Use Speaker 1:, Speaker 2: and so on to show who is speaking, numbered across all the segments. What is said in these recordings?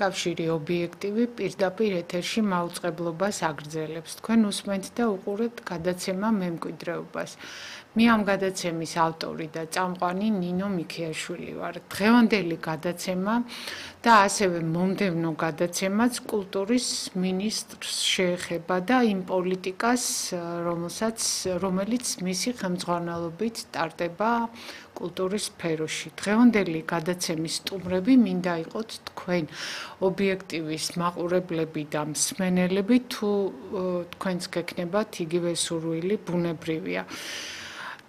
Speaker 1: კავშირი ობიექტივი პირდაპირ ეთერში მაუწყებლობას აგრძელებს. თქვენ უსმენთ და უყურებთ გადაცემა მემკვიდრეობას. მე ამ გადაცემის ავტორი და წამყვანი ნინო მიქიაშვილი ვარ. დღევანდელი გადაცემა და ასევე მომდევნო გადაცემაც კულტურის მინისტრს შეეხება და იმ პოლიტიკას, რომელიც მისი ხელმძღვანელობით ტარდება კულტურის სფეროში. დღევანდელი გადაცემის სტუმრები მინდა იყოთ თქვენ ობიექტივის მაყურებლები და მსმენელები, თუ თქვენს გექნებათ იგივე სურვილი, ბუნებრივია.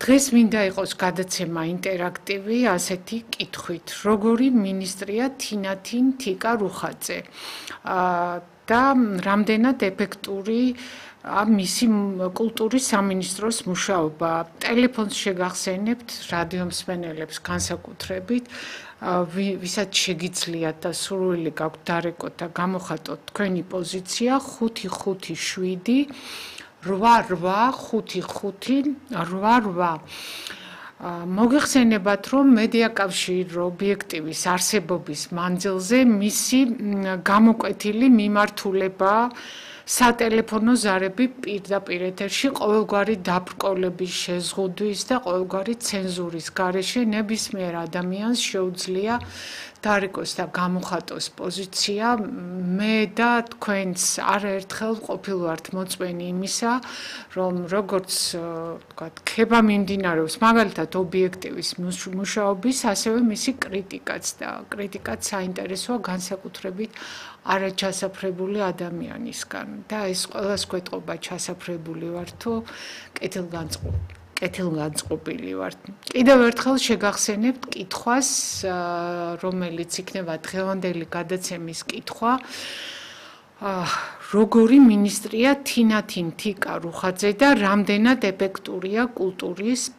Speaker 1: დღეს მინდა იყოს გადაცემა ინტერაქტივი ასეთი კითხვით: როგორი მინისტრია თინათინ თიკა რუხაძე და რამდენად ეფექტური მისი კულტურის სამინისტროს მუშაობა. ტელეფონს შეგახსენებთ რადიო მსმენელებს განსაკუთრებით, ვისაც შეგიძლიათ და სურვილი გაქვთ დარეკოთ და გამოხატოთ თქვენი პოზიცია 557 885588. მოგეხსენებათ, რომ მედიაკავშირი ობიექტივის არსებობის მანძილზე მისი გამოკვეთილი მიმართულება სატელეფონო ზარები პირდაპირ ეთერში ყოველგვარი დაბრკოლების შეზღუდვის და ყოველგვარი ცენზურის გარეშე ნებისმიერ ადამიანს შეუძლია დარეკოს და გამოხატოს პოზიცია. მე და თქვენს არაერთხელ ყოფილვართ მოწვენი იმისა, რომ როგორც ქება მიმდინარეობს მაგალითად ობიექტივის მუშაობის, ასევე მისი კრიტიკაც და კრიტიკაც საინტერესოა განსაკუთრებით არაჩასაფრებული ადამიანისგან და ეს ყველას გვეტყობა ჩასაფრებული ვარ თუ კეთილგანწყობილი ვარ. კიდევ ერთხელ შეგახსენებთ კითხვას, რომელიც იქნება დღევანდელი გადაცემის კითხვა. როგორი მინისტრია თინათინ თიკა რუხაძე და რამდენად ეფექტურია კულტურის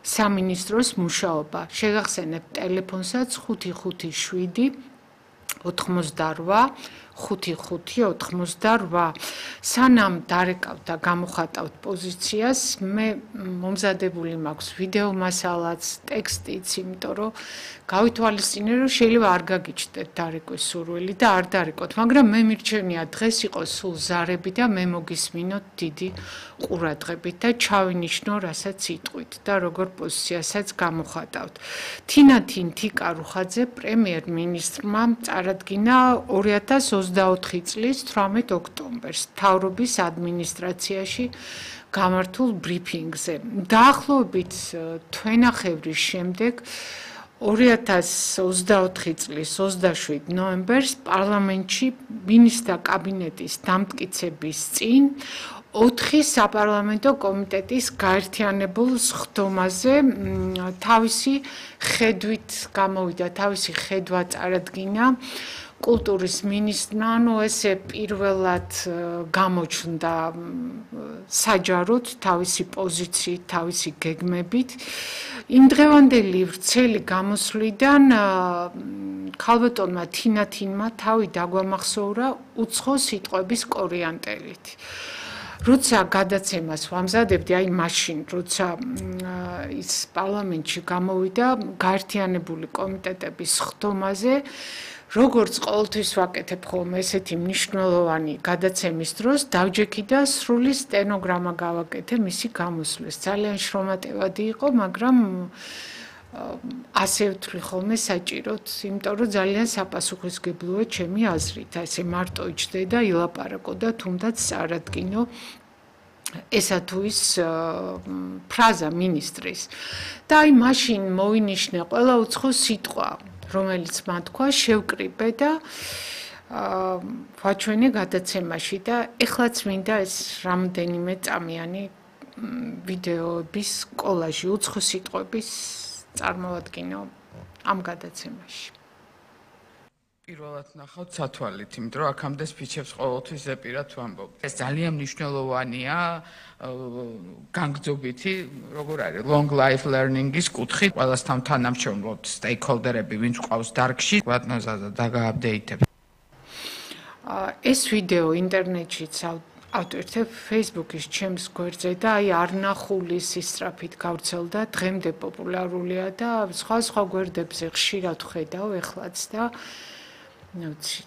Speaker 1: სამინისტროს მუშაობა. შეგახსენებთ ტელეფონსაც 557 88 5588. სანამ დარეკავთ და გამოხატავთ პოზიციას, მე მომზადებული მაქვს ვიდეო მასალაც, ტექსტიც, იმიტომ რომ გავითვალისწინე, რომ შეიძლება არ გაგიჩნდეთ დარეკვის სურვილი და არ დარეკოთ, მაგრამ მე მირჩენია დღეს იყოს სულ ზარები და მე მოგისმინოთ დიდი ყურადღებით და ჩავინიშნო, რასაც იტყვით და როგორ პოზიციასაც გამოხატავთ. თინათინ თიკა რუხაძე პრემიერ-მინისტრმა წარადგინა 2024 წლის 18 ოქტომბერს მთავრობის ადმინისტრაციაში გამართულ ბრიფინგზე. დაახლოებით თვენახევრის შემდეგ 2024 წლის 27 ნოემბერს პარლამენტში მინისტრთა კაბინეტის დამტკიცების წინ 4 საპარლამენტო კომიტეტის გაერთიანებულ სხდომაზე თავისი ხედვით გამოვიდა, თავისი ხედვა წარადგინა კულტურის მინისტრმა, ესე პირველად გამოჩნდა საჯაროდ თავისი პოზიციით, თავისი გეგმებით. იმ დღევანდელი ვრცელი გამოსვლიდან ქალბატონმა თინათინმა თავი დაგვამახსოვრა უცხო სიტყვების კორიანტელით. როცა გადაცემას ვამზადებდი, აი მაშინ, როცა ის პარლამენტში გამოვიდა გაერთიანებული კომიტეტების სხდომაზე, როგორც ყოველთვის ვაკეთებ ხოლმე ესეთი მნიშვნელოვანი გადაცემის დროს, დავჯექი და სრული სტენოგრამა გავაკეთე მისი გამოსვლის. ძალიან შრომატევადი იყო, მაგრამ ასე ვთვლი ხოლმე საჭიროდ, იმიტომ რომ ძალიან საპასუხისმგებლოა ჩემი აზრით. ესე მარტო იჯდე და ილაპარაკო და თუნდაც წარადგინო ესა თუ ის ფრაზა მინისტრის. და აი მაშინ მოვინიშნე ყველა უცხო სიტყვა, რომელიც მან თქვა, შევკრიბე და ვაჩვენე გადაცემაში და ეხლაც მინდა ეს რამდენიმე წამიანი ვიდეოების კოლაჟი უცხო სიტყვების წარმოვადგინო ამ გადაცემაში.
Speaker 2: პირველად ნახავთ სათვალით, იმიტომ რომ აქამდე სპიჩებს ყოველთვის ზეპირად ვამბობ. ეს ძალიან მნიშვნელოვანია განგრძობითი, როგორ არის, long life learning-ის კუთხით. ყველასთან თანამშრომლობთ stakeholder-ები, ვინც ყავს დარგში, ვატნოზადა დაგააპდეიტებ.
Speaker 1: ეს ვიდეო ინტერნეტშიც ავტვირთებ Facebook-ის ჩემს გვერდზე და აი არნახული სისწრაფით გავრცელდა, დღემდე პოპულარულია და სხვა გვერდებზე ხშირად ხედავ ეხლაც და ნუცი